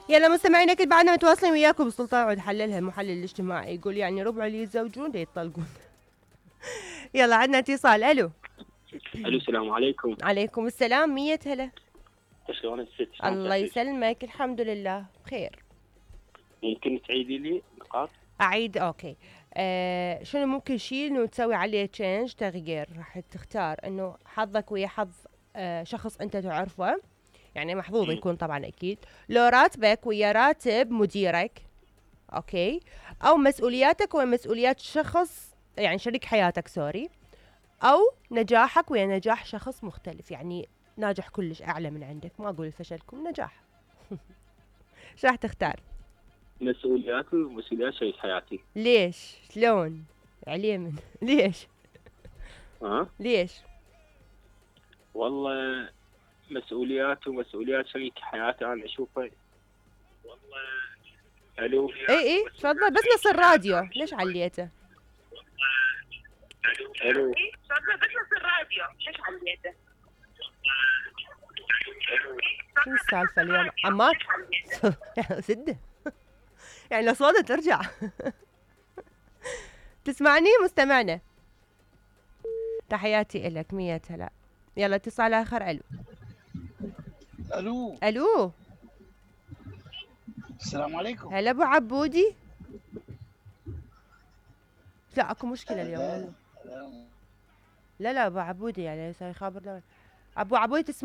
يلا مستمعينا اكيد بعدنا متواصلين وياكم. سلطان عود حللها المحلل الاجتماعي يقول يعني ربع اللي يتزوجون دا يطلقون. يلا عندنا اتصال. الو. الو السلام عليكم. عليكم السلام. 100 هلا. شلون الست؟ الله يسلمك. الحمد لله بخير. ممكن تعيدي لي نقاط؟ اعيد. اوكي. شنو ممكن شيء انه تسوي عليه تشينج تغيير؟ راح تختار انه حظك ويا حظ شخص انت تعرفه، يعني محظوظ يكون طبعا اكيد، لو راتبك ويا راتب مديرك، اوكي، او مسؤولياتك ويا مسؤوليات شخص يعني شريك حياتك سوري، او نجاحك ويا نجاح شخص مختلف، يعني ناجح كلش اعلى من عندك، ما اقول فشلكم، نجاح. شو راح تختار؟ مسؤولياتي ومسؤوليات شريك حياتي. ليش؟ شلون؟ عليه ليش؟ ليش؟ والله مسؤوليات ومسؤوليات شريك حياتي انا اشوفه. والله الو. اي تفضل، بس نص الراديو ليش عليته؟ الو. تفضل بس نص الراديو ليش عليته؟ شو السالفه اليوم عمار؟ سده يعني الاصوات ترجع. تسمعني مستمعنا؟ تحياتي إلك. 100 هلا. يلا اتصال آخر. الو. الو. الو. السلام عليكم. هلا ابو عبودي. لا اكو مشكلة اليوم. لا ابو عبودي يعني يخابر. ابو عبودي تسمع